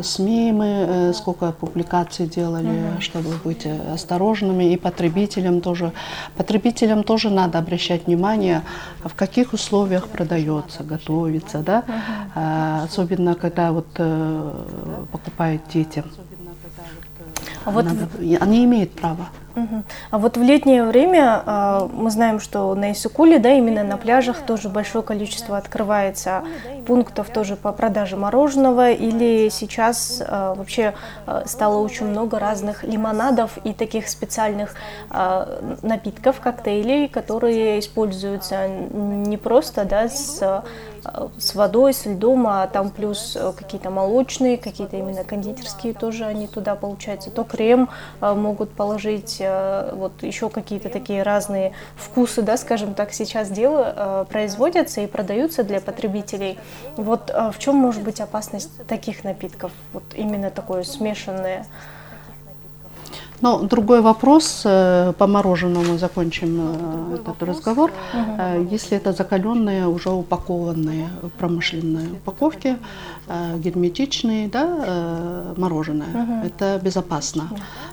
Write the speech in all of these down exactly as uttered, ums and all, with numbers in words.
СМИ мы сколько публикаций делали, uh-huh. чтобы быть осторожными, и потребителям тоже. Потребителям тоже надо обращать внимание, в каких условиях продается, готовится, да, uh-huh. особенно когда вот покупают дети. А вот надо, в... Они имеют право. Угу. А вот в летнее время э, мы знаем, что на Иссык-Куле, да, именно на пляжах тоже большое количество открывается пунктов тоже по продаже мороженого, или сейчас э, вообще э, стало очень много разных лимонадов и таких специальных э, напитков, коктейлей, которые используются не просто, да, с с водой, с льдом, а там плюс какие-то молочные, какие-то именно кондитерские тоже они туда, получается, то крем могут положить, вот еще какие-то такие разные вкусы, да, скажем так, сейчас дело производятся и продаются для потребителей. Вот в чем может быть опасность таких напитков, вот именно такое смешанное? Но другой вопрос, по мороженому закончим этот разговор. Uh-huh. Если это закаленные, уже упакованные в промышленной упаковке, герметичные, да, мороженое, uh-huh. это безопасно.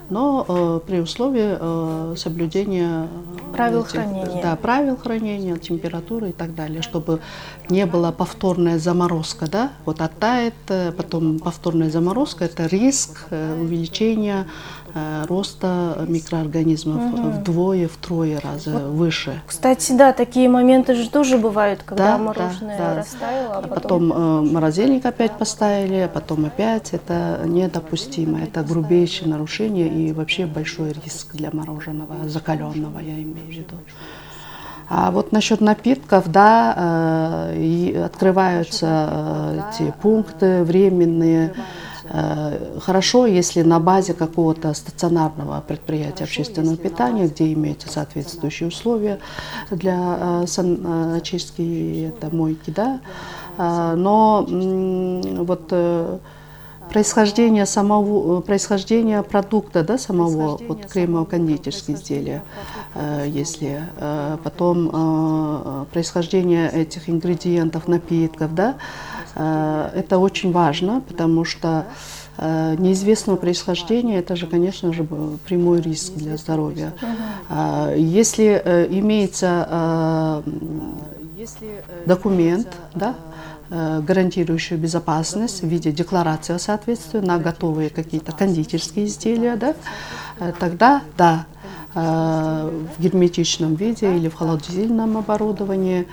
Но при условии соблюдения правил этих, хранения. Да, правил хранения, температуры и так далее, чтобы не было повторная заморозка, да, вот оттает, потом повторная заморозка, это риск увеличения роста микроорганизмов угу. вдвое, втрое раза вот, выше. Кстати, да, такие моменты же тоже бывают, когда да, мороженое да, да. растаяло, а потом... потом э, морозильник опять поставили, а потом опять. Это недопустимо, это грубейшее нарушение и вообще большой риск для мороженого, закаленного, я имею в виду. А вот насчет напитков, да, э, открываются э, эти пункты временные. Хорошо, если на базе какого-то стационарного предприятия общественного питания, где имеются соответствующие условия для саночистки, это мойки, да, но вот происхождение самого, происхождение продукта, да, самого, вот кремово-кондитерские изделия, если потом происхождение этих ингредиентов, напитков, да, это очень важно, потому что неизвестного происхождения, это же, конечно же, прямой риск для здоровья. Uh-huh. Если имеется документ, да, гарантирующий безопасность в виде декларации о соответствии на готовые какие-то кондитерские изделия, да, тогда, да, в герметичном виде или в холодильном оборудовании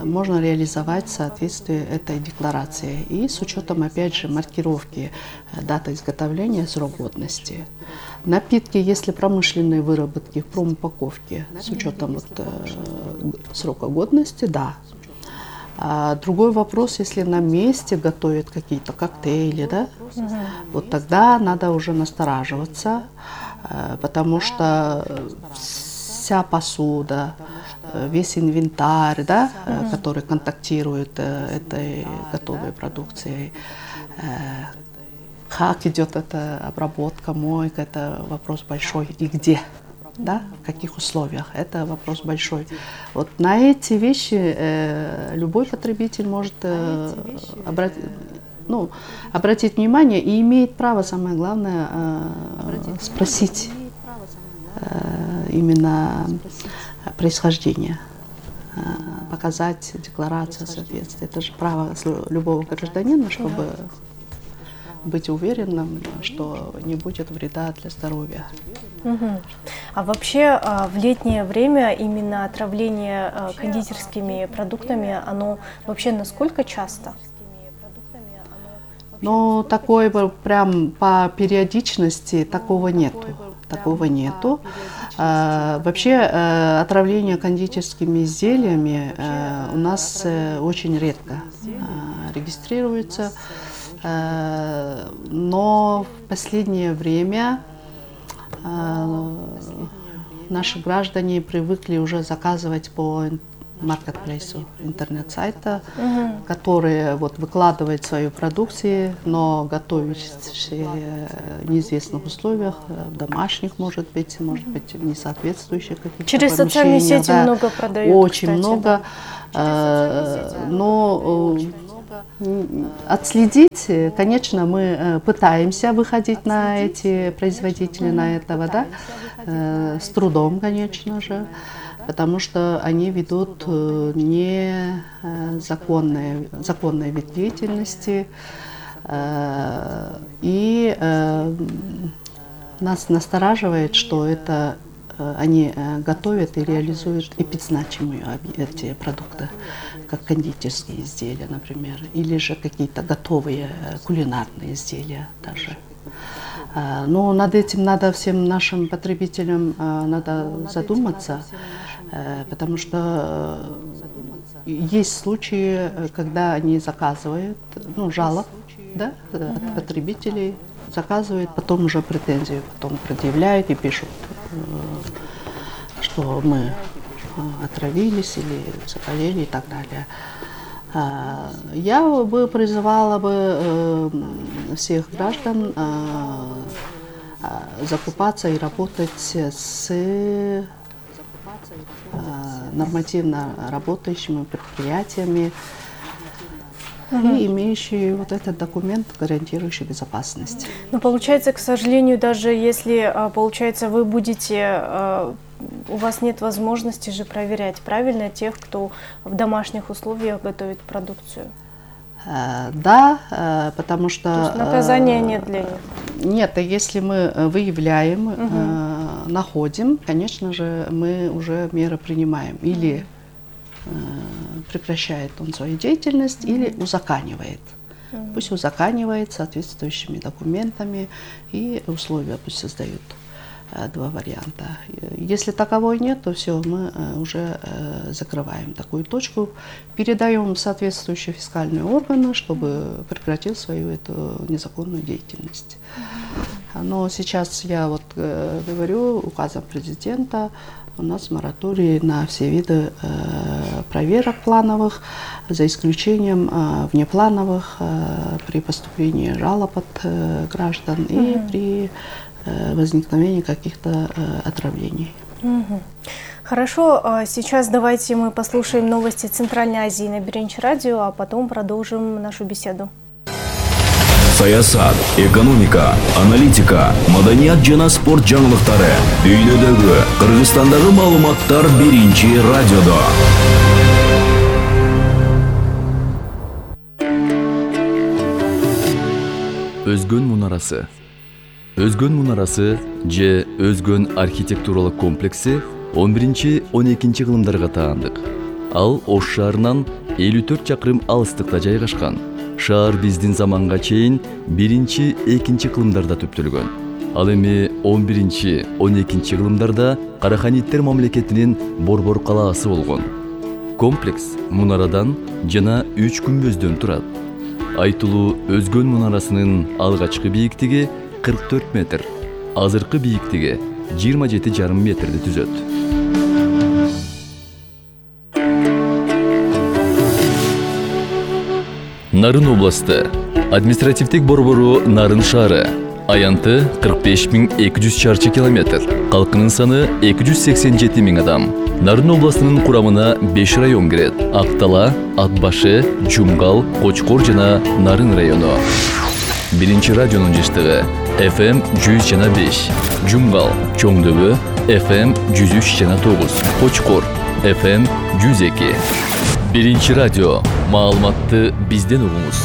можно реализовать соответствие этой декларации. И с учетом, опять же, маркировки даты изготовления, срок годности. Напитки, если промышленные выработки в промупаковке с учетом вот, срока годности, да. А другой вопрос, если на месте готовят какие-то коктейли, да, угу. вот тогда надо уже настораживаться, потому что вся посуда, весь инвентарь, да, угу. который контактирует этой готовой продукцией, как идет эта обработка, мойка, это вопрос большой, и где. Да, в каких условиях, это вопрос большой. Вот на эти вещи э, любой потребитель может э, обратить, ну, обратить внимание и имеет право, самое главное, э, спросить э, именно происхождение, э, показать декларацию соответствия. Это же право любого гражданина, чтобы быть уверенным, что не будет вреда для здоровья. Угу. А вообще в летнее время именно отравление кондитерскими продуктами, оно вообще насколько часто? Ну, такой прям по периодичности такого нету. Такого нету. А, вообще отравление кондитерскими изделиями у нас очень редко регистрируется. Но в последнее время наши граждане привыкли уже заказывать по маркетплейсу, интернет-сайта, угу. которые вот выкладывают свою продукцию, но готовят в неизвестных условиях, в домашних, может быть, может быть, в несоответствующих каких-то Через социальные сети да, много продают, очень кстати, много, да. э, но отследить, конечно, мы пытаемся выходить на эти производители, на этого, да, с трудом, конечно же, потому что они ведут незаконные, законные вид деятельности, и нас настораживает, что это они готовят и реализуют эпидзначимые эти продукты, как кондитерские изделия, например, или же какие-то готовые кулинарные изделия даже. Но над этим надо всем нашим потребителям надо задуматься, потому что есть случаи, когда они заказывают, ну, жалоб, да, от потребителей, заказывают, потом уже претензию потом предъявляют и пишут, что мы отравились или заболели и так далее. Я бы призывала бы всех граждан закупаться и работать с нормативно работающими предприятиями, Uh-huh. и имеющие вот этот документ, гарантирующий безопасность. Но получается, к сожалению, даже если, получается, вы будете, у вас нет возможности же проверять, правильно, тех, кто в домашних условиях готовит продукцию? Да, потому что... То есть наказания нет для них? Нет, если мы выявляем, uh-huh. находим, конечно же, мы уже меры принимаем. Или прекращает он свою деятельность, mm-hmm. или узаконивает. Mm-hmm. Пусть узаконивает соответствующими документами, и условия пусть создают. Два варианта. Если таковой нет, то все, мы уже закрываем такую точку, передаем в соответствующие фискальные органы, чтобы прекратил свою эту незаконную деятельность. Mm-hmm. Но сейчас я вот говорю, указом президента у нас мораторий на все виды э, проверок плановых, за исключением э, внеплановых э, при поступлении жалоб от э, граждан mm-hmm. и при э, возникновении каких-то э, отравлений. Mm-hmm. Хорошо, сейчас давайте мы послушаем новости Центральной Азии на Биринчи радио, а потом продолжим нашу беседу. Саясат, экономика, аналитика, маданият жана спорт жаңылыктары дүйнөдөгү, Кыргызстандагы маалыматтар Биринчи радиодо. Өзгөн мунарасы. Өзгөн мунарасы же Өзгөн архитектуралык комплекси он биринчи — он экинчи кылымдарга таандык. Ал Ош шаарынан элүү төрт чакырым алыстыкта жайгашкан. Шаар биздин заманга чейин биринчи — экинчи кылымдарда түптөлгөн. Ал эми он биринчи — он экинчи кылымдарда Караханиттер мамлекетинин Борбор калаасы болгон. Комплекс мунарадан жана үч күмбөздөн турат. Айтылуу Өзгөн мунарасынын алгачкы бийиктиги кырк төрт метр, азыркы бийиктиги жыйырма жети жарым метрди түзөт. Нарын областы. Административдик борбору Нарын шаары. Аянты кырк беш миң эки жүз чарчы километр. Калкынын саны эки жүз сексен жети миң адам. Нарын областынын курамына беш район кирет. Актала, Атбашы, Жумгал, Кочкор жана Нарын району. Биринчи радионун жыштыгы эф эм жүз жана беш. Жумгал, Чоңдөбө эф эм жүз үч жана тогуз. Кочкор эф эм жүз эки. Биринчи радио. Маалыматты бизден угуңуз.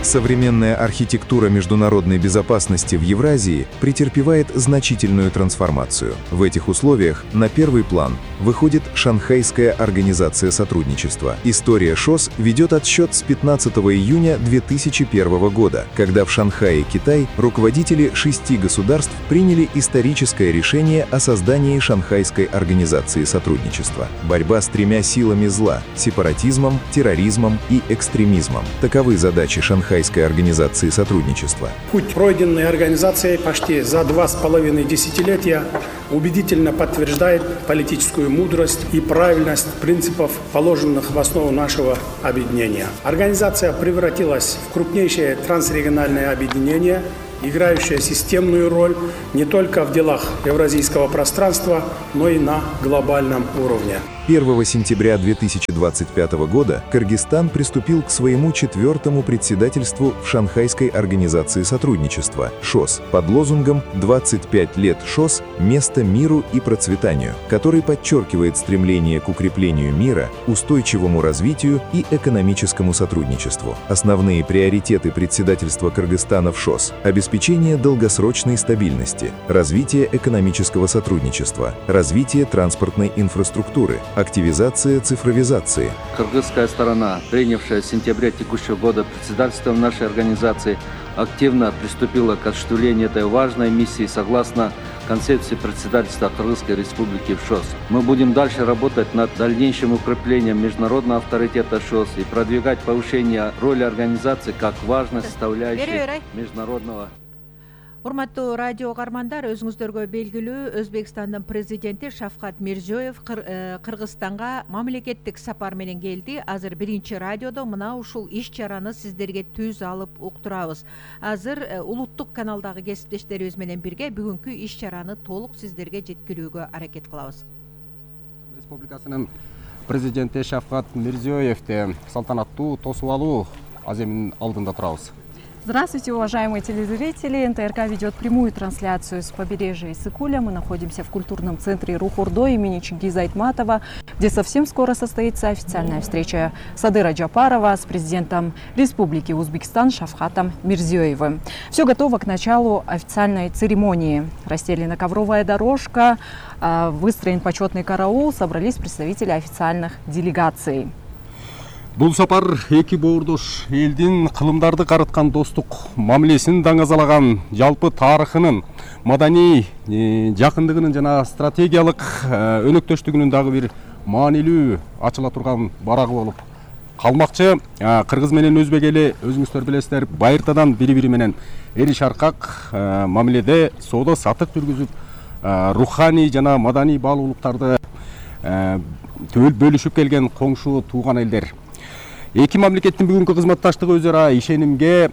Современная архитектура международной безопасности в Евразии претерпевает значительную трансформацию. В этих условиях на первый план выходит Шанхайская организация сотрудничества. История ШОС ведет отсчет с пятнадцатого июня две тысячи первого года, когда в Шанхае, Китай, руководители шести государств приняли историческое решение о создании Шанхайской организации сотрудничества. Борьба с тремя силами зла – сепаратизмом, терроризмом и экстремизмом. Таковы задачи Шанхайской организации сотрудничества. Путь, пройденный организацией почти за два с половиной десятилетия, убедительно подтверждает политическую мудрость и правильность принципов, положенных в основу нашего объединения. Организация превратилась в крупнейшее трансрегиональное объединение, играющая системную роль не только в делах евразийского пространства, но и на глобальном уровне. первого сентября две тысячи двадцать пятого года Кыргызстан приступил к своему четвертому председательству в Шанхайской организации сотрудничества ШОС под лозунгом «двадцать пять лет ШОС. Место миру и процветанию», который подчеркивает стремление к укреплению мира, устойчивому развитию и экономическому сотрудничеству. Основные приоритеты председательства Кыргызстана в ШОС – обеспечение долгосрочной стабильности, развитие экономического сотрудничества, развитие транспортной инфраструктуры, активизация цифровизации. Кыргызская сторона, принявшая в сентябре текущего года председательство нашей организации, активно приступила к осуществлению этой важной миссии согласно концепции председательства Кыргызской Республики в ШОС. Мы будем дальше работать над дальнейшим укреплением международного авторитета ШОС и продвигать повышение роли организации как важной составляющей международного. Урматтуу радио кармандар, өзүңүздөргө белгилүү Өзбекстандын президенти Шавкат Мирзиёев Кыргызстанга мамлекеттик сапар менен келди. Азыр биринчи радиодо мына ушул иш чараны сиздерге түз алып уктурабыз. Азыр улуттук каналдагы кесиптештерибиз менен бирге бүгүнкү иш чараны толук сиздерге жеткирүүгө аракет кылабыз. Республикасынын президенти Шавкат Мирзиёевди салтанаттуу тосуп алуу аземинин алдында турабыз. Здравствуйте, уважаемые телезрители! эн тэ эр ка ведет прямую трансляцию с побережья Иссыкуля. Мы находимся в культурном центре Рух-Ордо имени Чингиза Айтматова, где совсем скоро состоится официальная встреча Садыра Джапарова с президентом Республики Узбекистан Шавкатом Мирзиёевым. Все готово к началу официальной церемонии. Расстелена ковровая дорожка, выстроен почетный караул, собрались представители официальных делегаций. Бул сапар эки боордош элдин кылымдарды карыткан достук мамилесин даңазалаган, жалпы тарыхынын, маданий жакындыгынын жана стратегиялык өнөктөштүгүнүн дагы бир маанилүү ачыла турган барагы болуп калмакчы. Кыргыз менен өзбек эли, өзүңүздөр билесиздер, байыртадан бири-бири менен эри шаркак мамиледе соода сатык жүргүзүп, руханий жана маданий баалуулуктарды бөлүшүп келген коңшу тууган элдер. Эки мамлекеттин бүгүнкү кызматташтыгы өз ара ишенимге,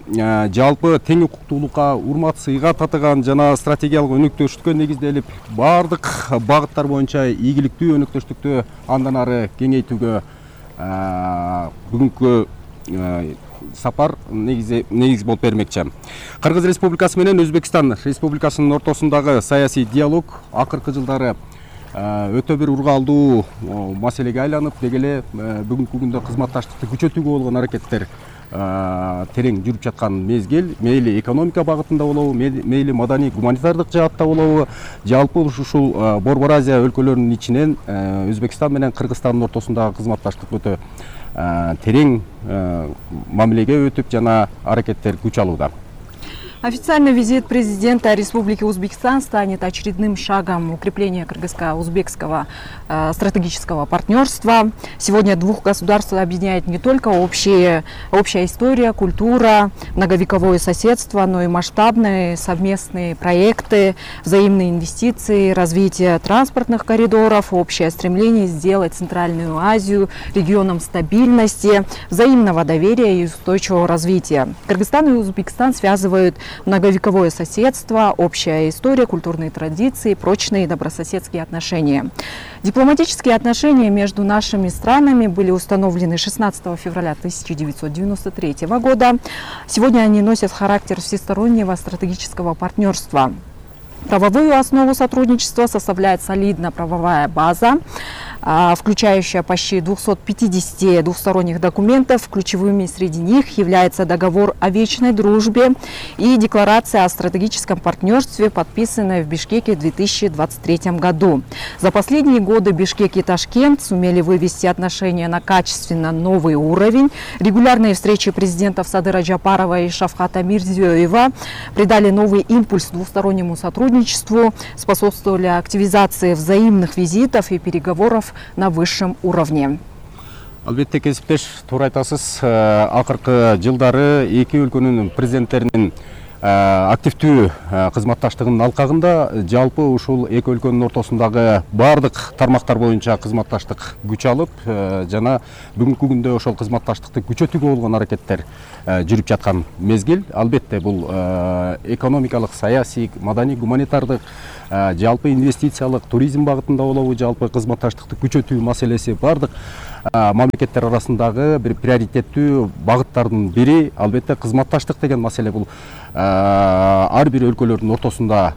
жалпы тең укуктуулукка, урмат сыйга татыган жана стратегиялык өнөктөштүккө негизделип, бардык багыттар боюнча ийгиликтүү өнөктөштүктү андан ары кеңейтүүгө бүгүнкү сапар негиз болуп бермекчи. Кыргыз Республикасы менен Өзбекстан Республикасынын ортосундагы саясий диалог акыркы жылдары өтө бир ургаалдуу маселеге айланып, деги эле бүгүнкү күндө кызматташтыкты күчөтүүгө болгон аракеттер терең жүрүп жаткан мезгил, мейли экономика багытында болобу, мейли маданий гуманитардык жаатта болобу, жалпы ушул Борбор Азия өлкөлөрүнүн ичинен Өзбекстан менен Кыргызстандын ортосундагы кызматташтык өтө терең мамилеге өтүп жана аракеттер күч алууда. Официальный визит президента Республики Узбекистан станет очередным шагом укрепления кыргызско-узбекского э, стратегического партнерства. Сегодня двух государств объединяет не только общие, общая история, культура, многовековое соседство, но и масштабные совместные проекты, взаимные инвестиции, развитие транспортных коридоров, общее стремление сделать Центральную Азию регионом стабильности, взаимного доверия и устойчивого развития. Кыргызстан и Узбекистан связывают многовековое соседство, общая история, культурные традиции, прочные добрососедские отношения. Дипломатические отношения между нашими странами были установлены шестнадцатого февраля тысяча девятьсот девяносто третьего года. Сегодня они носят характер всестороннего стратегического партнерства. Правовую основу сотрудничества составляет солидная правовая база, включающая почти двести пятьдесят двусторонних документов. Ключевыми среди них является договор о вечной дружбе и декларация о стратегическом партнерстве, подписанная в Бишкеке в две тысячи двадцать третьем году. За последние годы Бишкек и Ташкент сумели вывести отношения на качественно новый уровень. Регулярные встречи президентов Садыра Джапарова и Шавката Мирзиёева придали новый импульс двустороннему сотрудничеству, способствовали активизации взаимных визитов и переговоров на высшем уровне. Албетте, кесиптеш, туура айтасыз, акыркы жылдары эки өлкөнүн президенттеринин активдүү кызматташтыгынын алкагында жалпы ушул эки өлкөнүн ортосундагы баардык тармактар боюнча кызматташтык күч алып жана бүгүнкү күндө ошол кызматташтыкты күчөтүүгө болгон аракеттер жүрүп жаткан мезгил. Албетте бул экономикалык, саясий, маданий, гуманитардык, жалпы инвестициялык, туризм багытында болобу, жалпы кызматташтыкты күчөтүү маселеси баардык мамлекеттер арасындагы бир приоритеттүү багыттардын бири. Албетте кызматташтык деген маселе бул ар бир өлкөлөрдүн ортосунда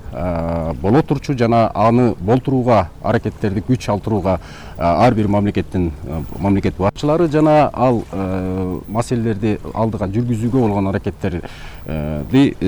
боло турчу жана аны болтурууга аракеттерди күч алдырууга ар бир мамлекеттин мамлекет башчылары жана ал маселелерди алдыга жүргүзүүгө болгон аракеттерди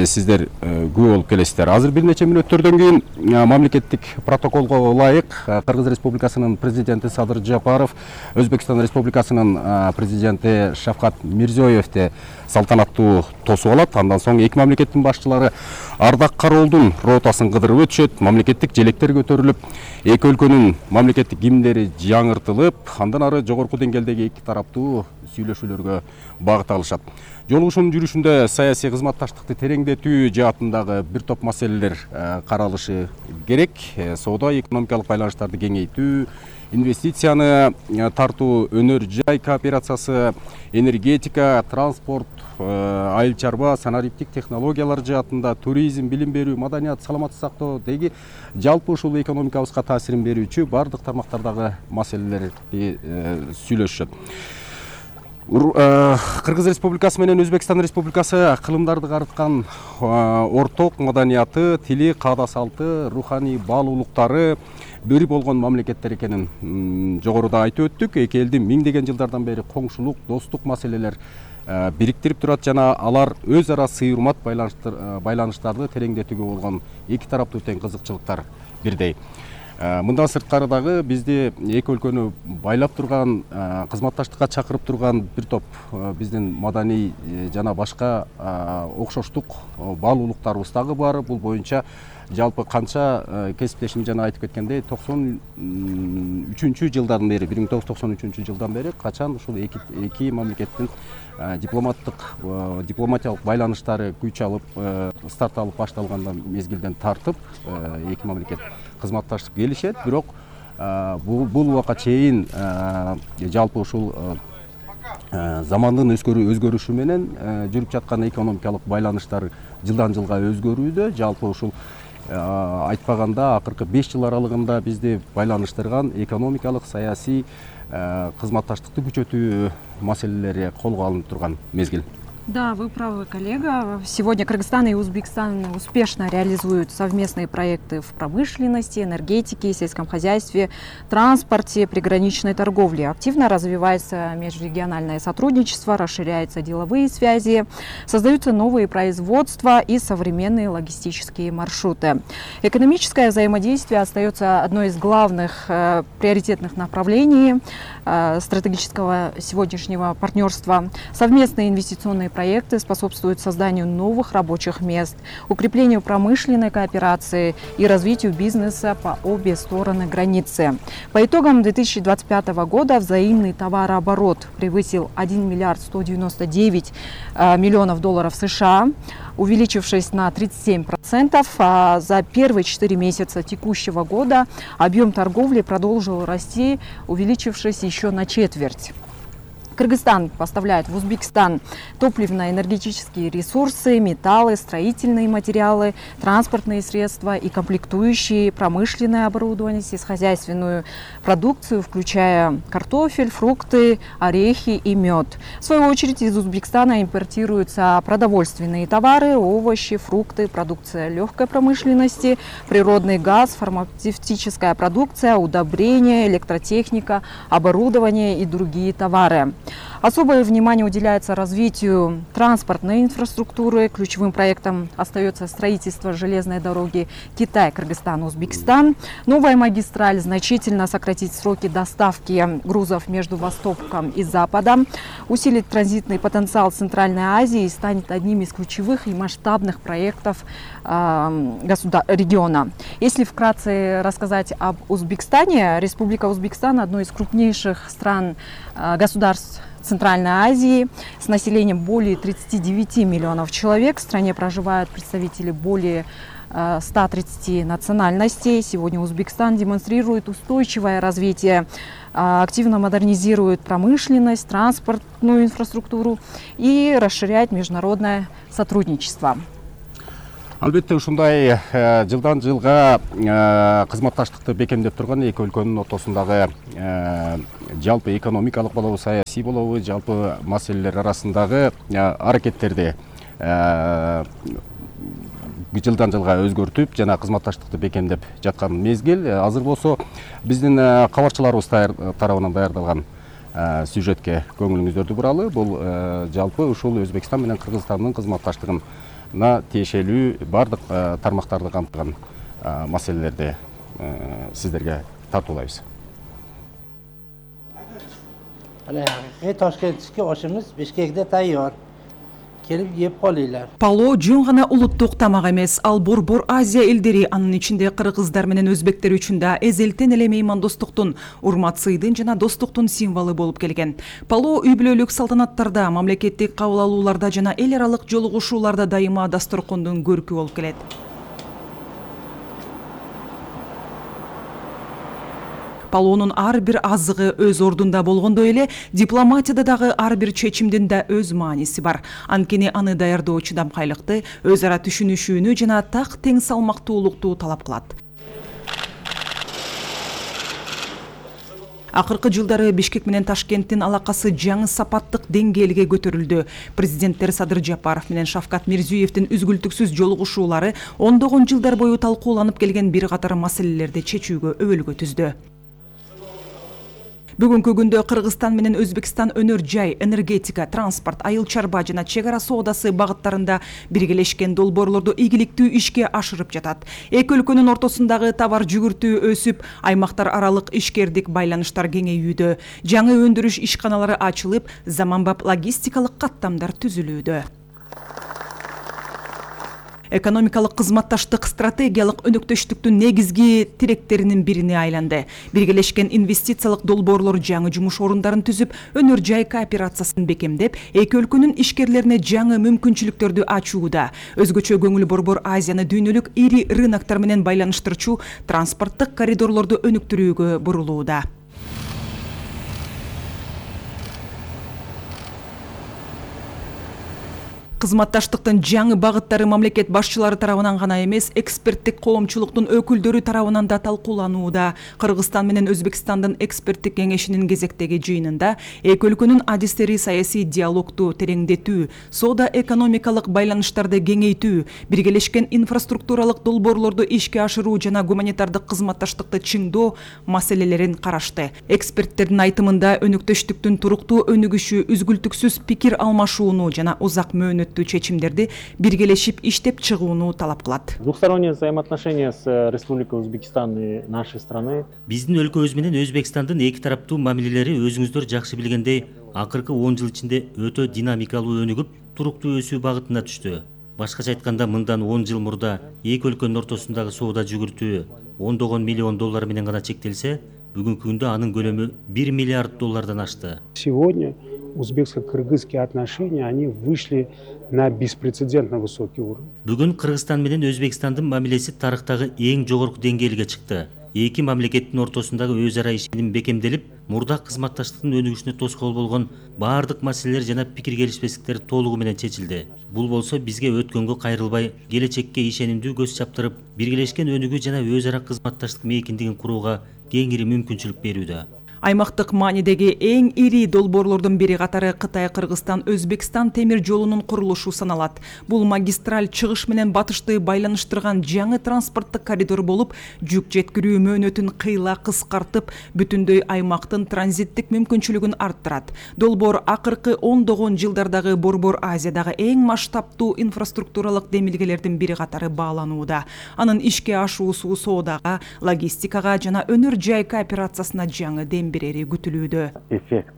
сиздер күбө болуп келесиздер. Азыр бир нече мүнөттөрдөн кийин мамлекеттик протоколго ылайык Кыргыз Республикасынын президенти Садыр Жапаров, Өзбекстан Республикасынын президенти Шавкат Мирзиёевди салтанаттуу тосуп алат. Андан соң эки мамлекеттин башчылары Ардак Кароолдун ротасын кыдырып өтүшөт, мамлекеттик желектер көтөрүлүп, эки өлкөнүн мамлекеттик гимндери жаңыртылып, андан ары жогорку деңгээлдеги эки тараптуу сүйлөшүүлөргө багыт алышат. Жолугушуунун жүрүшүндө саясий кызматташтыкты тереңдетүү жаатындагы бир топ маселелер каралышы керек. Соода экономикалык байланыштарды кеңейтүү, инвестицияны тартуу, өнөр жай кооперациясы, энергетика, транспорт, айыл чарба, санариптик технологиялар жаатында, туризм, билим берүү, маданият, саламаттык сактоо деги жалпы ушул экономикабызга таасирин берүүчү баардык тармактардагы маселелерди сүйлөшүшөт. Кыргыз Республикасы менен Өзбекстан Республикасы кылымдарды карыткан орток маданияты, тили, каада салты, руханий баалуулуктары бир болгон мамлекеттер экенин жогоруда айтып өттүк. Эки элдин миңдеген жылдардан бери коңшулук, достук маселелер бириктирип турат жана алар өз ара сый урмат байланыштарды тереңдетүүгө болгон эки тараптуу тең кызыкчылыктар бирдей. Мындан сырткары дагы бизди эки өлкөнү байлап турган, кызматташтыкка чакырып турган бир топ биздин маданий жана башка окшоштук баалуулуктарыбыз дагы бар. Бул боюнча жалпы канча кесиптешим жана айтып кеткендей токсон үчүнчү жылдан бери, бир миң тогуз жүз токсон үчүнчү жылдан бери качан ушул эки эки мамлекеттин дипломаттык дипломатиялык байланыштары күч алып, старт алып башталгандан мезгилден тартып эки мамлекет кызматташып келишет. Бирок бул убакка чейин жалпы ушул замандын өзгөрүшү менен жүрүп жаткан экономикалык байланыштар жылдан жылга өзгөрүүдө. Жалпы ушул айтпаганда акыркы беш жыл аралыгында бизди байланыштырган экономикалык, саясий кызматташтыкты күчөтүү маселелери колго алынып турган мезгил. Да, вы правы, коллега. Сегодня Кыргызстан и Узбекистан успешно реализуют совместные проекты в промышленности, энергетике, сельском хозяйстве, транспорте, приграничной торговле. Активно развивается межрегиональное сотрудничество, расширяются деловые связи, создаются новые производства и современные логистические маршруты. Экономическое взаимодействие остается одной из главных э, приоритетных направлений э, стратегического сегодняшнего партнерства. Совместные инвестиционные проекты проекты способствуют созданию новых рабочих мест, укреплению промышленной кооперации и развитию бизнеса по обе стороны границы. По итогам две тысячи двадцать пятого года взаимный товарооборот превысил один миллиард сто девяносто девять миллионов долларов США, увеличившись на тридцать семь процентов, а за первые четыре месяца текущего года объем торговли продолжил расти, увеличившись еще на четверть. Кыргызстан поставляет в Узбекистан топливно-энергетические ресурсы, металлы, строительные материалы, транспортные средства и комплектующие, промышленное оборудование, сельскохозяйственную продукцию, включая картофель, фрукты, орехи и мед. В свою очередь из Узбекистана импортируются продовольственные товары, овощи, фрукты, продукция легкой промышленности, природный газ, фармацевтическая продукция, удобрения, электротехника, оборудование и другие товары. Особое внимание уделяется развитию транспортной инфраструктуры. Ключевым проектом остается строительство железной дороги Китай, Кыргызстан, Узбекистан. Новая магистраль значительно сократит сроки доставки грузов между Востоком и Западом, усилит транзитный потенциал Центральной Азии и станет одним из ключевых и масштабных проектов региона. Если вкратце рассказать об Узбекистане, Республика Узбекистан – одно из крупнейших стран государств Центральной Азии с населением более тридцати девяти миллионов человек. В стране проживают представители более ста тридцати национальностей. Сегодня Узбекистан демонстрирует устойчивое развитие, активно модернизирует промышленность, транспортную инфраструктуру и расширяет международное сотрудничество. Албетте ушундай жылдан жылга кызматташтыкты бекемдеп турган эки өлкөнүн ортосундагы жалпы экономикалык болобу, саясий болобу, жалпы маселелер арасындагы аракеттерди жылдан жылга өзгөртүп жана кызматташтыкты бекемдеп жаткан мезгил. Азыр болсо биздин кабарчыларыбыз тарабынан даярдалган сюжетке көңүлүңүздөрдү буралы. Бул жалпы ушул Өзбекстан менен Кыргызстандын кызматташтыгына тиешелүү бардык тармактарды камтыган маселелерди сиздерге тартуулайбыз. Toshkentga oshimiz Bishkekda tayyor. Kelib yeb qolinglar. Пало жөн гана улуттук тамак эмес, ал Борбор Азия элдери, анын ичинде кыргыздар менен өзбектер үчүн да эзелтен эле меймандостуктун, урмат-сыйдын жана достуктун символу болуп келген. Пало үй бүлөлүк салтанаттарда, мамлекеттик кабыл алууларда жана эл аралык жолугушууларда дайыма дасторкондун көркү болуп келет. Палоонун ар бир азыгы өз ордунда болгондой эле дипломатияда дагы ар бир чечимдин да өз мааниси бар. Анткени аны даярдоо чыдамкайлыкты, өз ара түшүнүшүүнү жана так тең салмактуулукту талап кылат. Акыркы жылдары Бишкек менен Ташкенттин алакасы жаңы сапаттык деңгээлге көтөрүлдү. Президенттер Садыр Жапаров менен Шавкат Мирзиёевдин үзгүлтүксүз жолугушуулары ондогон жылдар бою талкууланып келген бир катар маселелерди чечүүгө өбөлгө түздү. Бүгүнкү күндө Кыргызстан менен Өзбекстан өнөр жай, энергетика, транспорт, айыл чарба жана чек ара соодасы багыттарында биргелешкен долбоорлорду ийгиликтүү ишке ашырып жатат. Эки өлкөнүн ортосундагы товар жүгүртүү өсүп, аймактар аралык ишкердик байланыштар кеңейүүдө, жаңы өндүрүш ишканалары ачылып, заманбап логистикалык каттамдар түзүлүүдө. Экономикалык кызматташтык стратегиялык өнөктөштүктүн негизги тиректеринин бирине айланды. Биргелешкен инвестициялык долбоорлор жаңы жумуш орундарын түзүп, өнөр жай кооперациясын бекемдеп, эки өлкөнүн ишкерлерине жаңы мүмкүнчүлүктөрдү ачууда. Өзгөчө көңүл Борбор Азияны дүйнөлүк ири рыноктор менен байланыштырчу транспорттук коридорлорду өнүктүрүүгө бурулууда. Кызматташтыктын жаңы багыттары мамлекет башчылары тарабынан гана эмес, эксперттик коомчулуктун өкүлдөрү тарабынан да талкууланууда. Кыргызстан менен Өзбекстандын эксперттик кеңешинин кезектеги жыйынында эки өлкөнүн адистери саясий диалогду тереңдетүү, соода экономикалык байланыштарды кеңейтүү, биргелешкен инфраструктуралык долбоорлорду ишке ашыруу жана гуманитардык кызматташтыкты чыңдоо маселелерин карашты. Эксперттердин айтымында өнөктөштүктүн туруктуу өнүгүшү, үзгүлтүксүз пикир алмашууну жана узак мөөнөт чечимдерди биргелешип иштеп чыгууну талап кылат. Двухсторонние взаимоотношения с Республикой Узбекистан и нашей страны. Биздин өлкөбүз менен Өзбекстандын эки тараптуу мамилелери өзүңүздөр жакшы билгендей, акыркы он жыл ичинде өтө динамикалуу өнүгүп, туруктуу өсүү багытына түштү. Башкача айтканда, мындан он жыл мурда эки өлкөнүн ортосундагы соода жүгүртүү ондогон миллион доллар менен гана чектелсе, бүгүнкү күндө анын көлөмү бир миллиард доллардан ашты. Сегодня узбекско-кыргызские отношения, они вышли на беспрецедентно высокий уровень. Бүгүн Кыргызстан менен Өзбекстандын мамилеси тарыхтагы эң жогорку деңгээлге чыкты. Эки мамлекеттин ортосундагы өз ара ишеним бекемделип, мурдак кызматташтыктын өнүгүшүнө тоскоол болгон баардык маселелер жана пикир келишпестиктер толугу менен чечилди. Бул болсо бизге өткөнгө кайрылбай, келечекке ишенимдүү көз чаптырып, биргелешкен өнүгүү жана өз ара кызматташтык мейкиндигин курууга кеңири мүмкүнчүлүк берүүдө. Аймактык маанидеги эң ири долбоорлордун бири катары Кытай-Кыргызстан-Өзбекстан темир жолунун курулушу саналат. Бул магистраль чыгыш менен батышты байланыштырган жаңы транспорттук коридор болуп, жүк жеткирүү мөөнөтүн кыйла кыскартып, бүтүндөй аймактын транзиттик мүмкүнчүлүгүн арттырат. Долбоор акыркы ондогон жылдардагы Борбор Азиядагы эң масштабтуу инфраструктуралык демилгелердин бири катары бааланууда. Анын ишке ашуусу соодага, логистикага жана өнөр жай кооперациясына жаңы дем берери күтүлүүдө. Эффект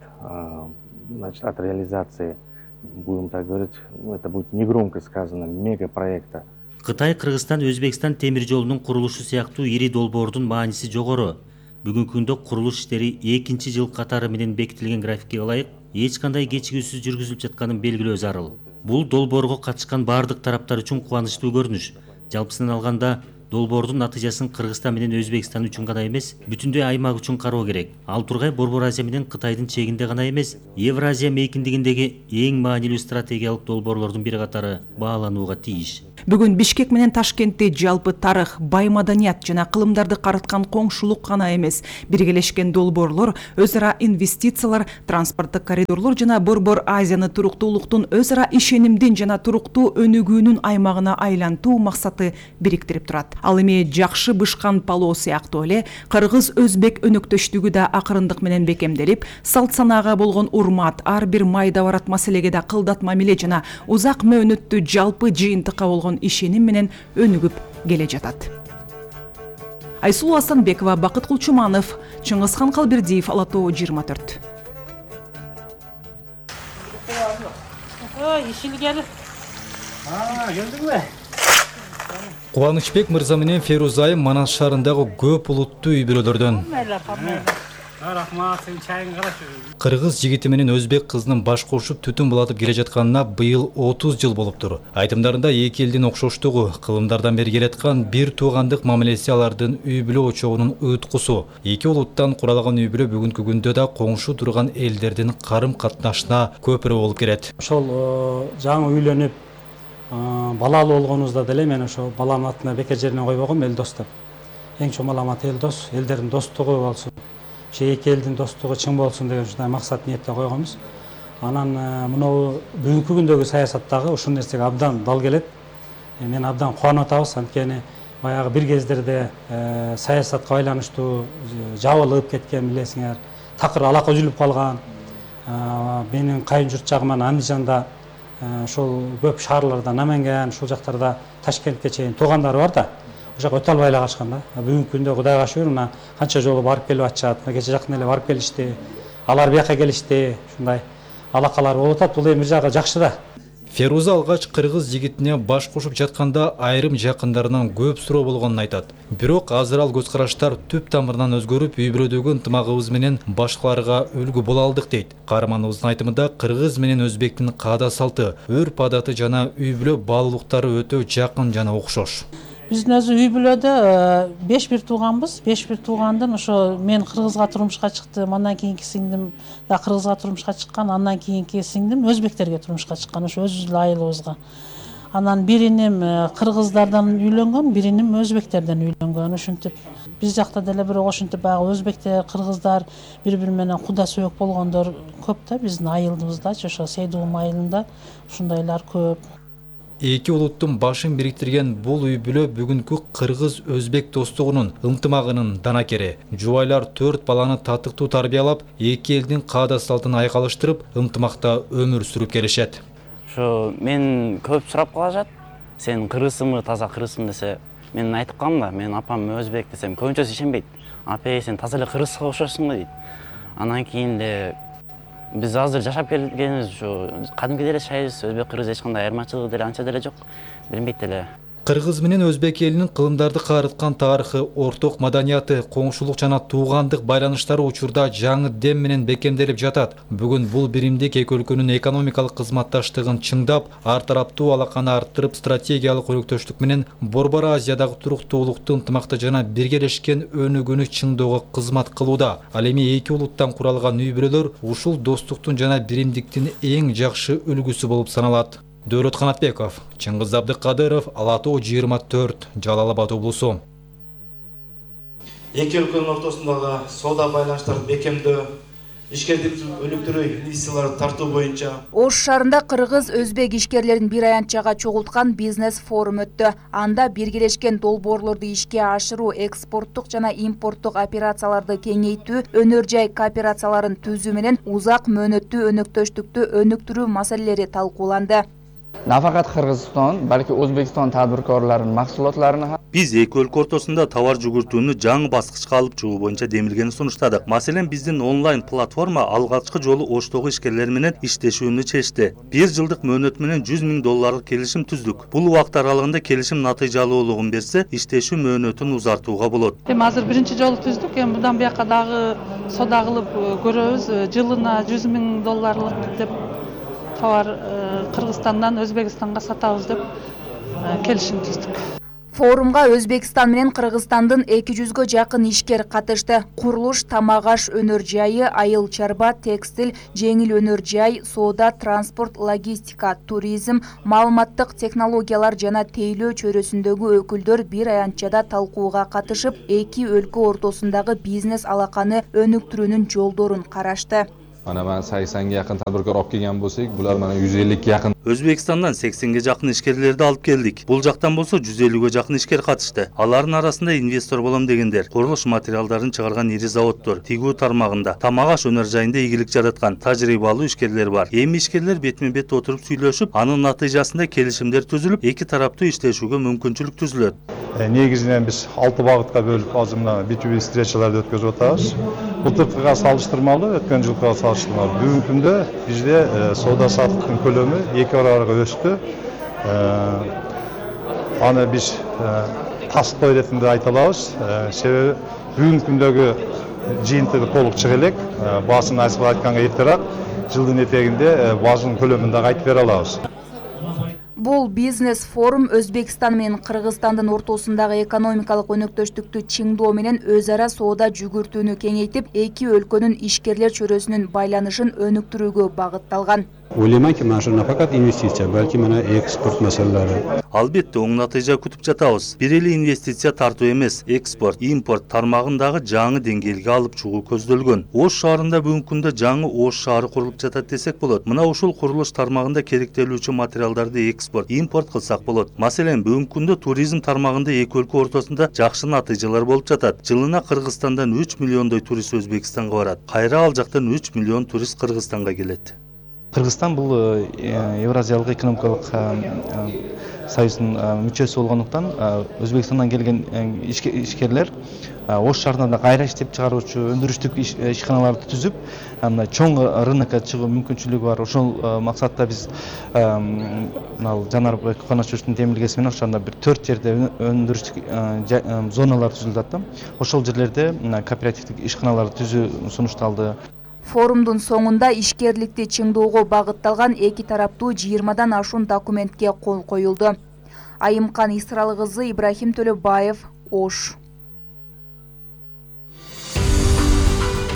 значит, от реализации, будем так говорить, это будет негромко сказано, мегапроекта. Кытай, Кыргызстан, Өзбекстан темир жолунун курулушу сыяктуу ири долбоордун мааниси жогору. Бүгүнкү күндө курулуш иштери экинчи жыл катары менен бекитилген графикке ылайык эч кандай кечигүүсүз жүргүзүлүп жатканын белгилөө зарыл. Бул долбоорго катышкан бардык тараптар үчүн кубанычтуу көрүнүш. Жалпысынан алганда, долбоордун натыйжасын Кыргызстан менен Өзбекстан үчүн гана эмес, бүтүндөй аймак үчүн кароо керек. Ал тургай Борбор Азия менен Кытайдын чегинде гана эмес, Евразия мейкиндигиндеги эң маанилүү стратегиялык долбоорлордун бири катары бааланууга тийиш. Бүгүн Бишкек менен Ташкентте жалпы тарых, бай маданият жана кылымдарды карыткан коңшулук гана эмес, биргелешкен долбоорлор, өз ара инвестициялар, транспорттук коридорлор жана Борбор Азияны туруктуулуктун, өз ара ишенимдин жана туруктуу өнүгүүнүн аймагына айлантуу максаты бириктирип турат. Ал эми жакшы бышкан палоо сыяктуу эле кыргыз-өзбек өнөктөштүгү да акырындык менен бекемделип, салт санаага болгон урмат, ар бир майда барат маселеге да кылдат мамиле жана узак мөөнөттүү жалпы жыйынтыкка болгон ишеним менен өнүгүп келе жатат. Айсулуу Асанбекова, Бакыт Кулчуманов, Чыңгызхан Калбердиев, Ала Тоо жыйырма төрт. Кубанычбек мырза менен Феруза айым Манас шаарындагы көп улуттуу үй бүлөлөрдөн. Кыргыз жигити менен өзбек кызынын баш кошуп түтүн булатып келе жатканына быйыл отуз жыл болуптур. Айтымдарында эки элдин окшоштугу, кылымдардан бери келаткан бир туугандык мамилеси алардын үй бүлө очогунун ыйткусу. Эки улуттан куралган үй бүлө бүгүнкү күндө да коңшу турган элдердин карым катнашына көпүрө болуп келет. Ошол жаңы үйлөнүп балалуу болгонубузда деле мен ошо баланын атына бекер жерине койбогом, эл дос деп. Эң чоң маламат эл дос, элдердин достугу болсун. Ошо эки элдин достугу чың болсун деген ушундай максат ниетте койгонбуз. Анан мынау бүгүнкү күндөгү саясаттагы ушул нерсеге абдан дал келет. Мен абдан кубанып атабыз, анткени баягы бир кездерде саясатка байланыштуу жабылып кеткен билесиңер, такыр алака үзүлүп калган. Менин кайын журт жагым Андижанда, ошол көп шаарларда, Наменген, ушул жактарда Ташкентке чейин туугандары бар да. Ошо өтө албай эле калышкан да. Бүгүнкү күндө Кудайга шүгүр, мына канча жолу барып келип атышат. Кече жакын эле барып келишти. Алар бияка келишти. Ушундай алакалар болуп атат. Бул эми бир жагы жакшы да. Феруза алгач кыргыз жигитине баш кошуп жатканда айрым жакындарынан көп суроо болгонун айтат. Бирок азыр ал көз караштар түп тамырынан өзгөрүп, үй бүлөдөгү ынтымагыбыз менен башкаларга үлгү боло алдык дейт. Каарманыбыздын айтымында кыргыз менен өзбектин каада салты, өрп адаты жана үй бүлө баалуулуктары өтө жакын жана окшош. Биздин өзү үй бүлөдө беш бир тууганбыз. беш бир туугандын ошо мен кыргызга турмушка чыктым, андан кийинки сиңдим да кыргызга турмушка чыккан, андан кийинки сиңдим өзбектерге турмушка чыккан, ошо өзүбүздүн айылыбызга. Анан бириним кыргыздардан үйлөнгөн, бириним өзбектерден үйлөнгөн. Ошентип биз жакта деле бирок ошентип баягы өзбектер, кыргыздар бири-бири менен куда сөйөк болгондор көп да биздин айылыбыздачы, ошо Сейдуум айылында ушундайлар көп. Эки улуттун башын бириктирген бул үй бүлө бүгүнкү кыргыз-өзбек достугунун, ынтымагынын данакери. Жубайлар төрт баланы татыктуу тарбиялап, эки элдин каада салтын айкалыштырып, ынтымакта өмүр сүрүп келишет. Ошо мен көп сурап калышат. Сен кыргызсыңбы, таза кыргызсың десе, мен айтып калам да, мен апам өзбек десем, көбүнчөсү ишенбейт. Апа, сен таза эле кыргызга окшошсуң го дейт. Анан кийин эле биз азыр жашап келгенбиз, ушу кадимки деле жашайбыз, өзбек кыргыз эч кандай айырмачылыгы деле анча деле жок. Билинбейт деле. Кыргыз менен өзбек элинин кылымдарды каарыткан тарыхы, орток маданияты, коңшулук жана туугандык байланыштары учурда жаңы дем менен бекемделип жатат. Бүгүн бул биримдик эки өлкөнүн экономикалык кызматташтыгын чыңдап, ар тараптуу алаканы арттырып, стратегиялык өнөктөштүк менен Борбор Азиядагы туруктуулукту, ынтымакты жана биргелешкен өнүгүүнү чыңдоого кызмат кылууда. Ал эми эки улуттан куралган үй бүлөлөр ушул достуктун жана биримдиктин эң жакшы үлгүсү болуп саналат. Дөөлөт Канатбеков, Чыңгыз Абдыкадыров, Ала Тоо жыйырма төрт, Жалал Абад облусу. Эки өлкөнүн ортосундагы соода байланыштарды бекемдөө, ишкердикти өнүктүрүү, инвестицияларды тартуу боюнча Ош шаарында кыргыз-өзбек ишкерлерин бир аянтчага чогулткан бизнес форум өттү. Анда биргелешкен долбоорлорду ишке ашыруу, экспорттук жана импорттук операцияларды кеңейтүү, өнөр жай кооперацияларын түзүү менен узак мөөнөттүү өнөктөштүктү өнүктүрүү маселелери талкууланды. Nafaqat Qirg'iziston, balki O'zbekiston tadbirkorlarining mahsulotlarini ham Биз эки өлкө ортосунда товар жүгүртүүнү жаңы баскычка алып чыгуу боюнча демилгени сунуштадык. Маселен, биздин онлайн платформа алгачкы жолу Оштогу ишкерлер менен иштешүүнү чечти. Бир жылдык мөөнөт менен жүз миң долларлык келишим түздүк. Бул убакыт аралыгында келишим натыйжалуулугун берсе, иштешүү мөөнөтүн узартууга болот. Эми азыр биринчи жолу түздүк. Эми мындан бияка дагы соода кылып көрөбүз. Жылына жүз миң долларлык деп товар Кыргызстандан Өзбекстанга сатабыз деп келишим түздүк. Форумга Өзбекстан менен Кыргызстандын эки жүзгө жакын ишкер катышты. Курулуш, тамак аш өнөр жайы, айыл чарба, текстиль, жеңил өнөр жай, соода, транспорт, логистика, туризм, маалыматтык технологиялар жана тейлөө чөйрөсүндөгү өкүлдөр бир аянтчада талкууга катышып, эки өлкө ортосундагы бизнес алаканы өнүктүрүүнүн жолдорун карашты. Mana ben seksenge yakın tadbirkor olib kelgan bo'lsak, bular mana yüz ellikке yakın. Өзбекстандан сексенге жакын ишкерлерди алып келдик. Бул жактан болсо жүз элүүгө жакын ишкер катышты. Алардын арасында инвестор болом дегендер, курулуш материалдарын чыгарган ири заводдор, тигүү тармагында, тамак аш өнөр жайында ийгилик жараткан тажрыйбалуу ишкерлер бар. Эми ишкерлер бетме-бет отуруп сүйлөшүп, анын натыйжасында келишимдер түзүлүп, эки тараптуу иштешүүгө мүмкүнчүлүк түзүлөт. Негизинен биз алты багытка бөлүп азыр мына би ту би встречаларды өткөзүп атабыз. Былтыркыга салыштырмалуу, өткөн жылкыга салыштырмалуу бүгүнкү күндө бизде соода саттыктын көлөмү эки барабарга өстү. Аны биз таскоо иретинде айта алабыз. Себеби бүгүнкү күндөгү жыйынтыгы толук чыга элек. Баасын айсып айтканга эртерээк жылдын этегинде баасынын көлөмүн да айтып бере алабыз. Бул бизнес форум Өзбекстан менен Кыргызстандын ортосундагы экономикалык өнөктөштүктү чыңдоо менен өз ара соода жүгүртүүнү кеңейтип, эки өлкөнүн ишкерлер чөйрөсүнүн байланышын өнүктүрүүгө багытталган. Ойлойманки, mana shu nafaqat investitsiya, balki mana eksport masalalari. Албетте, оң натыйжа күтүп жатабыз. Бир эле инвестиция тартуу эмес, экспорт, импорт тармагындагы жаңы деңгээлге алып чыгуу көздөлгөн. Ош шаарында бүгүнкү күндө жаңы Ош шаары курулуп жатат десек болот. Мына ушул курулуш тармагында керектелүүчү материалдарды экспорт, импорт кылсак болот. Маселен, бүгүнкү күндө туризм тармагында эки өлкө ортосунда жакшы натыйжалар болуп жатат. Жылына Кыргызстандан үч миллиондой турист Өзбекстанга барат. Кайра ал жактан үч миллион турист Кыргызстанга келет. Кыргызстан бул Евразиялык экономикалык союздун мүчөсү болгондуктан Өзбекстандан келген ишкерлер Ош шаарында кайра иштеп чыгаруучу өндүрүштүк ишканаларды түзүп, мына чоң рынокко чыгуу мүмкүнчүлүгү бар. Ошол максатта биз мына Жанарбек Каначевичтин демилгеси менен ошондо бир төрт жерде өндүрүштүк зоналар түзүлүп атты. Ошол жерлерде кооперативдик ишканаларды түзүү сунушталды. Форумдун соңунда ишкерликти чыңдоого багытталган эки тараптуу жыйырмадан ашуун документке кол коюлду. Айымкан Исралы кызы, Ибрахим Төлөбаев, Ош.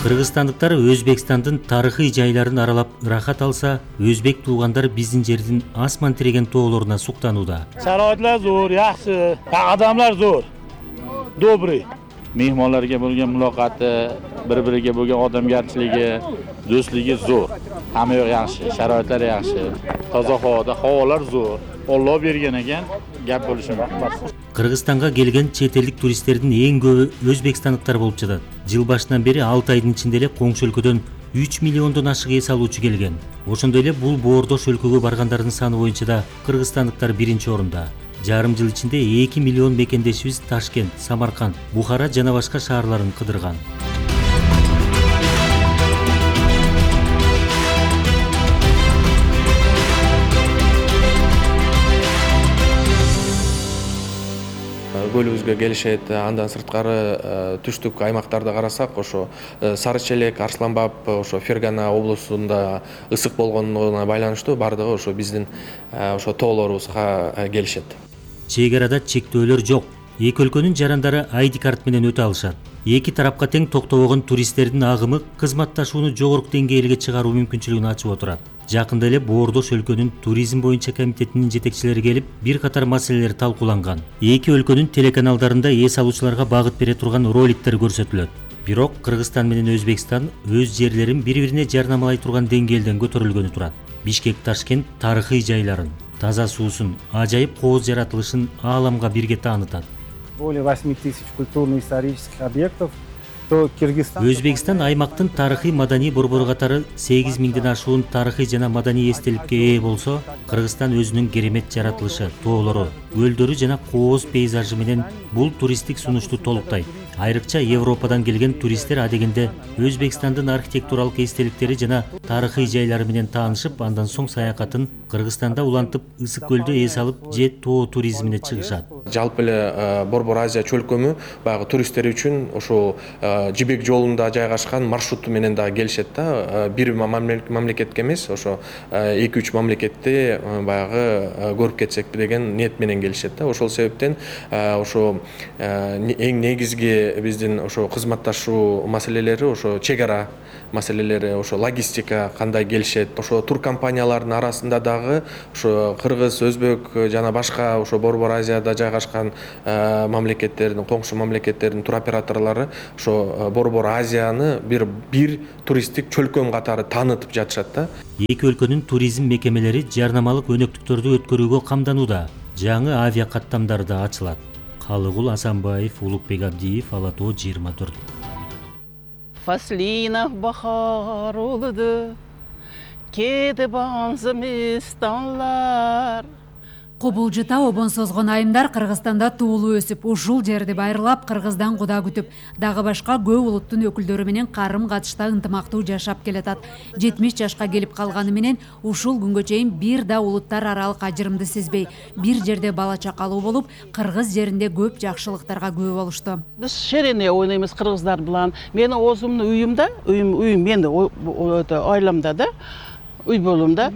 Кыргызстандыктар Өзбекстандын тарыхый жайларын аралап ырахат алса, өзбек туугандар биздин жердин асман тиреген тоолоруна суктанууда. Шароитлар зор, жакшы, адамдар зор, добрый. Mehmonlarga bo'lgan muloqoti, bir-biriga bo'lgan odamgarchiligi, do'stligi zo'r. Hamma yoq yaxshi, sharoitlar yaxshi, toza havoda, havolar zo'r. Alloh bergan ekan, gap bo'lishi mumkin. Кыргызстанга келген чет элдик туристтердин эң көбү өзбекстандыктар болуп жатат. Жыл башынан бери алты айдын ичинде эле коңшу өлкөдөн үч миллиондон ашык эс алуучу келген. Ошондой эле бул боордош өлкөгө баргандардын саны боюнча да кыргызстандыктар биринчи орунда. Жарым жыл ичинде эки миллион мекендешибиз Ташкент, Самарканд, Бухара жана башка шаарларын кыдырган. Көлүбүзгө келишет, андан сырткары түштүк аймактарда карасак, ошо Сары Челек, Арсланбап, ошо Фергана облусунда ысык болгонуна байланыштуу бардыгы ошо биздин ошо тоолорубузга келишет. Чек арада чектөөлөр жок. Эки өлкөнүн жарандары ай ди карт менен өтө алышат. Эки тарапка тең токтобогон туристтердин агымы кызматташууну жогорку деңгээлге чыгаруу мүмкүнчүлүгүн ачып отурат. Жакында эле боордош өлкөнүн туризм боюнча комитетинин жетекчилери келип, бир катар маселелер талкууланган. Эки өлкөнүн телеканалдарында эс алуучуларга багыт бере турган роликтер көрсөтүлөт. Бирок Кыргызстан менен Өзбекстан өз жерлерин бири-бирине жарнамалай турган деңгээлден көтөрүлгөнү турат. Бишкек, Ташкент тарыхый жайларын, таза суусун, ажайып кооз жаратылышын ааламга бирге таанытат. Более восьми тысяч культурно-исторических объектов то Кыргызстан. Өзбекстан аймактын тарыхый маданий борбору катары сегиз миңден ашуун тарыхый жана маданий эстеликке ээ болсо, Кыргызстан өзүнүн керемет жаратылышы, тоолору, көлдөрү жана кооз пейзажы менен бул туристтик сунушту толуктайт. Айрыкча Европадан келген туристтер адегенде Өзбекстандын архитектуралык эстеликтери жана тарыхый жайлары менен таанышып, андан соң саякатын Кыргызстанда улантып, ысык көлдө эс алып же тоо туризмине чыгышат. Жалпы эле Борбор Азия чөлкөмү баягы туристтер үчүн ошо жибек жолунда жайгашкан маршруту менен да келишет да. Бир мамлекетке эмес, ошо эки үч мамлекетти баягы көрүп кетсекпи деген ниет менен келишет да. Ошол себептен ошо эң негизги биздин ошо кызматташуу маселелери, ошо чек ара маселелери, ошо логистика кандай келишет, ошо тур компаниялардын арасында дагы ошо кыргыз, өзбек жана башка ошо Борбор Азияда жайгашкан мамлекеттердин, коңшу мамлекеттердин тур операторлору ошо Борбор Азияны бир бир туристтик чөлкөм катары таанытып жатышат да. Эки өлкөнүн туризм мекемелери жарнамалык өнөктүктөрдү өткөрүүгө камданууда. Жаңы авиа каттамдар да ачылат. Калыгул Асанбаев, Улукбек Абдиев, Ала тоо жыйырма төрт. Фаслинах бахар улуду, кеди банзымистанлар. Кобулжута обон созгон айымдар Кыргызстанда туулуу өсүп, ушул жерди байырлап, Кыргыздан куда күтүп, дагы башка көп улуттун өкүлдөрү менен карым катышта ынтымактуу жашап келатат. жетимиш жашка келип калганы менен ушул күнгө чейин бир да улуттар аралык ажырымды сезбей, бир жерде бала чакалуу болуп, Кыргыз жеринде көп жакшылыктарга күбө болушту. Биз шерене ойнойбуз кыргыздар менен. Менин өзүмдүн үйүмдө, үйүм үйүм менин айламда да, үй болумда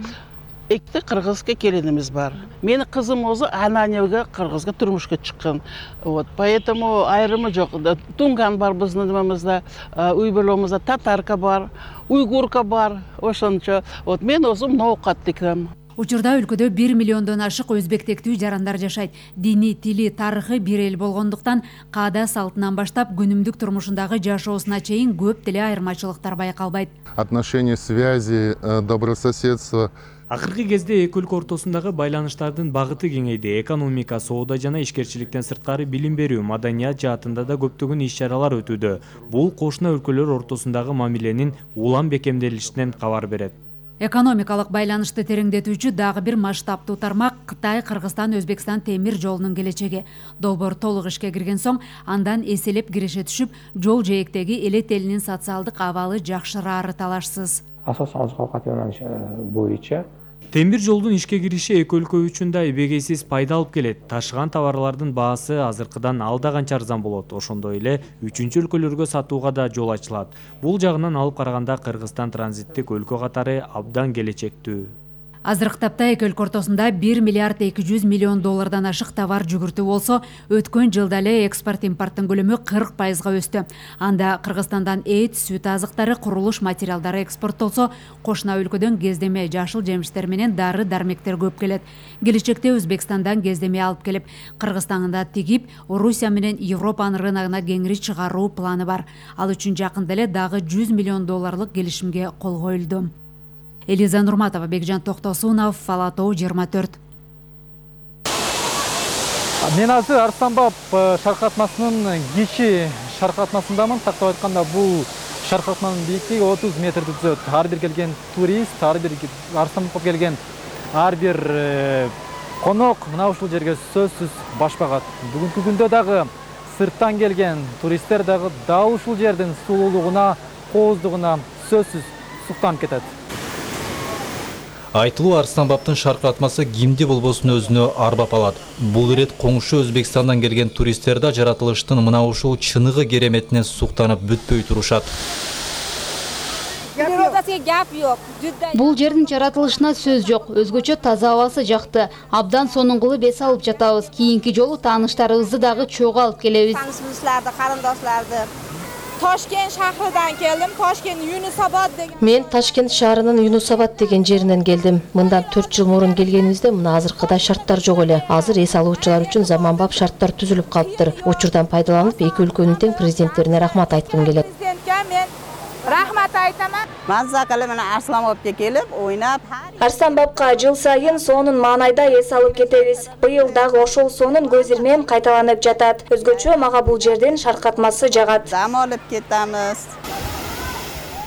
экти кыргызга келинimiz бар. Менин кызым өзү ананеге кыргызга турмушка чыккан. Вот, поэтому айрымы жок. Тунган бар биздин немемизде, үй боломузда татарка бар, уйгурка бар. Ошончо, вот мен өзүм ноокат декем. Учурда өлкөдө бир миллиондон ашык өзбектектүү жарандар жашайт. Дини, тили, тарыхы бир эл болгондуктан каада салтынан баштап күнүмдүк турмушундагы жашоосуна чейин көп деле айырмачылыктар байкалбайт. Отношения, связи, добрососедство. Акыркы кезде эки өлкө ортосундагы байланыштардын багыты кеңейди. Экономика, соода жана ишкерчиликтен сырткары билим берүү, маданият жаатында да көптөгөн иш-чаралар өтүүдө. Бул кошуна өлкөлөр ортосундагы мамиленин улам бекемделишинен кабар берет. Экономикалык байланышты тереңдетүүчү дагы бир масштабтуу тармак Кытай, Кыргызстан, Өзбекстан темир жолунун келечеги. Долбоор толук ишке кирген соң, андан эселеп киреше түшүп, жол жээктеги элет элинин социалдык абалы жакшырары талашсыз. Асосан азык-овкат боюнча темир жолдун ишке кириши эки өлкө үчүн да эбегейсиз пайда алып келет. Ташыган товарлардын баасы азыркыдан алда канча арзан болот. Ошондой эле үчүнчү өлкөлөргө сатууга да жол ачылат. Бул жагынан алып караганда Кыргызстан транзиттик өлкө катары абдан келечектүү. Азыркы тапта эки өлкө ортосунда бир миллиард эки жүз миллион доллардан ашык товар жүгүртүү болсо, өткөн жылда эле экспорт импорттун көлөмү кырк пайызга өстү. Анда Кыргызстандан эт, сүт азыктары, курулуш материалдары экспорттолсо, кошуна өлкөдөн кездеме жашыл жемиштер менен дары дармектер көп келет. Келечекте Өзбекстандан кездеме алып келип, Кыргызстанда тигип, Орусия менен Европанын рыногуна кеңири чыгаруу планы бар. Ал үчүн жакында эле дагы жүз миллион долларлык келишимге кол коюлду. Элиза Нурматова, Бекжан Токтосунов, Ала тоо жыйырма төрт. Мен азыр Арстанбаб шаркыратмасынын кичи шаркыратмасындамын. Тактап айтканда, бул шаркыратманын бийиктиги отуз метрди түзөт. Ар бир келген турист, ар бир Арстанбабка келген ар бир конок мына ушул жерге сөзсүз баш багат. Бүгүнкү күндө дагы сырттан келген туристтер дагы дал ушул жердин сулуулугуна, кооздугуна сөзсүз суктанып кетет. Айтылуу Арстанбабтын шаркыратмасы кимди болбосун өзүнө арбап алат. Бул ирет коңшу Өзбекстандан келген туристтер да жаратылыштын мына ушул чыныгы кереметине суктанып бүтпөй турушат. Бул жердин жаратылышына сөз жок. Өзгөчө таза абасы жакты. Абдан сонуңгулуп эс алып жатабыз. Кийинки жолу тааныштарыбызды дагы чогуу алып келебиз. Тааныштарымызды, карындашларды Toshkent shahridan keldim. Toshkent Yunusobod degan. Men Toshkent shahrining Yunusobod degan jerinden keldim. Мындан төрт жыл мурун келгенибизде мына азыркыдай шарттар жок эле. Азыр эс алуучулар үчүн заманбап шарттар түзүлүп калыптыр. Учурдан пайдаланып, эки өлкөнүн тең президенттерине рахмат айткым келет. Президентке мен рахмат айтаман. Маззакалы менен Арсланбапка келип, ойнап. Арсланбапка жыл сайын сонун маанайда эс алып кетебиз. Быйыл дагы ошол сонун көз ирмем кайталанып жатат. Өзгөчө мага бул жерден шаркатмасы жагат. Дам алып кетебиз.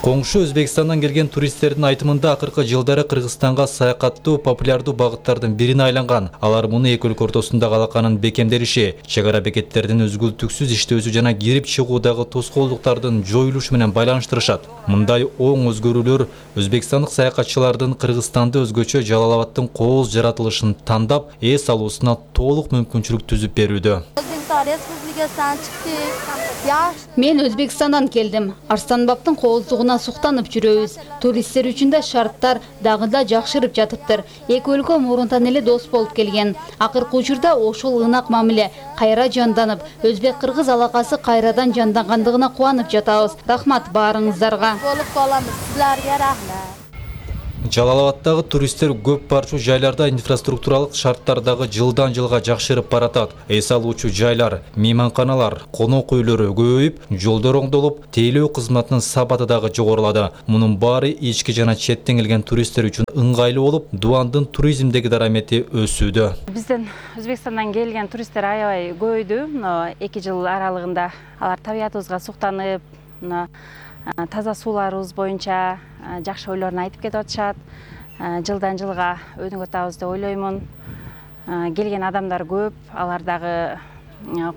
Коңшу Өзбекстандан келген туристтердин айтымында акыркы жылдары Кыргызстанга саякаттоо популярдуу багыттардын бирине айланган. Алар муну эки өлкө ортосундагы алаканын бекемдеши, чек ара бекеттердин үзгүлтүксүз иштөөсү жана кирип чыгуудагы тоскоолдуктардын жоюлушу менен байланыштырышат. Мындай оң өзгөрүүлөр өзбекстандык саякатчылардын Кыргызстанды өзгөчө Жалал-Абадтын кооз жаратылышын тандап, эс алуусуна толук мүмкүнчүлүк түзүп берүүдө. Мен Өзбекстандан келдим. Арсланбаптын кооздугуна суктанып жүрөбүз. Туристтер үчүн да шарттар дагы да жакшырып жатыптыр. Эки өлкө мурунтан эле дос болуп келген. Акыркы учурда ошол ынак мамиле кайра жанданып, өзбек-кыргыз алакасы кайрадан жандангандыгына кубанып жатабыз. Рахмат баарыңыздарга. Болуп каламыз. Силерге рахмат. Жалал-Абадтагы туристтер көп барчу жайларда инфраструктуралык шарттар дагы жылдан жылга жакшырып баратат. Эс алуучу жайлар, мейманканалар, конок үйлөрү көбөйүп, жолдор оңдолуп, тейлөө кызматынын сапаты дагы жогорулады. Мунун баары ички жана четтен келген туристтер үчүн ыңгайлуу болуп, Дубандын туризмдеги дарамети өсүүдө. Бизден Өзбекстандан келген туристтер аябай көбөйдү. эки жыл аралыгында алар табиятыбызга суктанып, таза сууларыбыз боюнча жакшы ойлорун айтып кетип атышат. Жылдан жылга өнүгүп атабыз деп ойлоймун. Келген адамдар көп, алар дагы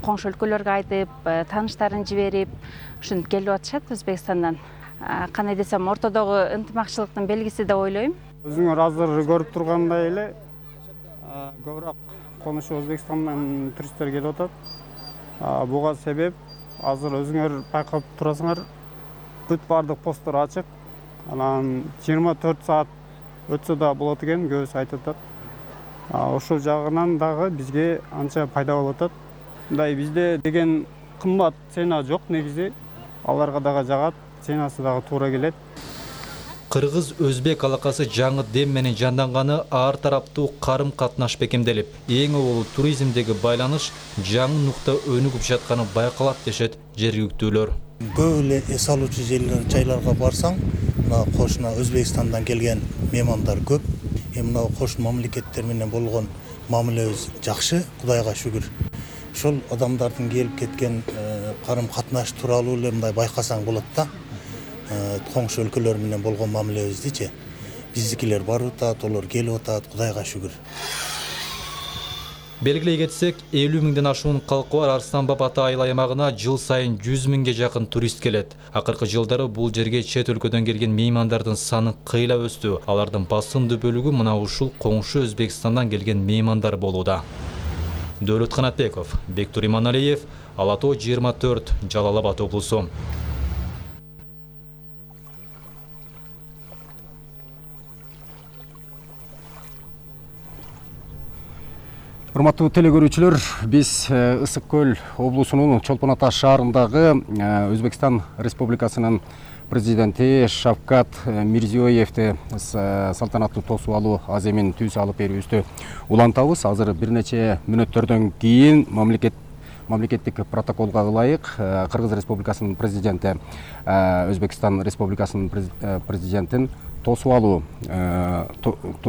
коңшу өлкөлөргө айтып, тааныштарын жиберип, ушинтип келип атышат Өзбекстандан. Кандай десем, ортодогу ынтымакчылыктын белгиси деп ойлойм. Өзүңөр азыр көрүп тургандай эле көбүрөөк конушу Өзбекстандан туристтер келип атат. Буга себеп азыр өзүңөр байкап турасыңар, бүт бардык посттор ачык. Анан жыйырма төрт саат өтсө да болот экен, көбүсү айтып атат. Ошол жагынан дагы бизге анча пайда болуп атат. Мындай бизде деген кымбат цена жок негизи. Аларга дагы жагат, ценасы дагы туура келет. Кыргыз-Өзбек алакасы жаңы дем менен жанданганы ар тараптуу карым катнаш бекемделип, эң олуу туризмдеги байланыш жаңы нукта өнүгүп жатканы байкалат дешет жергиликтүүлөр. Көп эле эс алуучу жайларга барсаң, мына кошуна Өзбекстандан келген меймандар көп. Мына кошун мамлекеттер менен болгон мамилебиз жакшы, Кудайга шүгүр. Ошол адамдардын келип кеткен карым катнаш тууралуу эле мындай байкасаң болот да. Коңшу өлкөлөр менен болгон мамилебиздичи. Биздикилер барып атат, олар келип атат, Кудайга шүгүр. Белгилей кетсек, элүү миңден ашуун калкы бар Арсланбап ата айыл аймагына жыл сайын жүз миңге жакын турист келет. Акыркы жылдары бул жерге чет өлкөдөн келген меймандардын саны кыйла өстү. Алардын басымдуу бөлүгү мына ушул коңшу Өзбекстандан келген меймандар болууда. Дөөлөт Канатбеков, Бектур Иманалиев, Ала тоо жыйырма төрт, Жалал-Абад облусу. Урматтуу телекөрүүчүлөр, биз Ысык көл облусунун Чолпон Ата шаарындагы Өзбекстан Республикасынын президенти Шавкат Мирзиёевди салтанаттуу тосуп алуу аземин түз алып берүүбүздү улантабыз. Азыр бир нече мүнөттөрдөн кийин мамлекет мамлекеттик протоколго ылайык Кыргыз Республикасынын президенти, Өзбекстан Республикасынын президентин тосуп алуу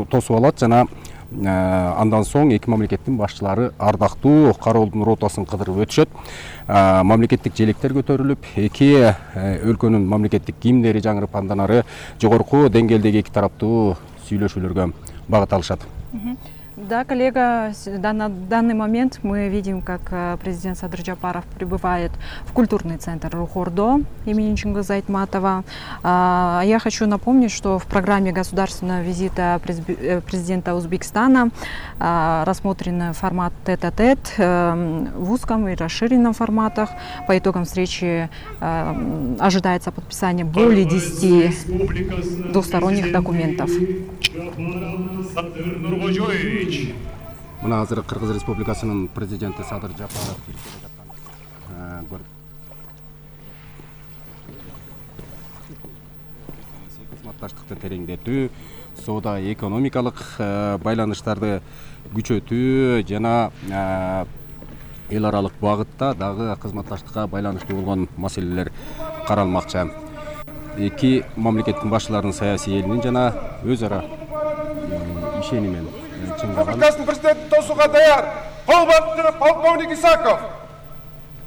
тосуп алат жана андан соң эки мамлекеттин башчылары ардактуу кароолдун ротасын кыдырып өтүшөт. Мамлекеттик желектер көтөрүлүп, эки өлкөнүн мамлекеттик гимндери жаңырып, андан ары жогорку деңгээлдеги эки тараптуу сүйлөшүүлөргө багыт алышат. Да, коллега, на данный момент мы видим, как президент Садыр Джапаров прибывает в культурный центр Рухордо имени Чингиза Айтматова. Я хочу напомнить, что в программе государственного визита президента Узбекистана рассмотрен формат тет-а-тет в узком и расширенном форматах. По итогам встречи ожидается подписание более десяти двусторонних документов. Мына азыр Кыргыз Республикасынын президенти Садыр Жапаров кызматташтыкты тереңдетүү, соода экономикалык байланыштарды күчөтүү жана эл аралык багытта дагы кызматташтыкка байланыштуу болгон маселелер каралмакчы. эки мамлекеттин башчыларынын саясий элинин жана өз ара ишенимен чыңдаган. Республикасынын президенти тосууга даяр. Кол батыры полковник Исаков.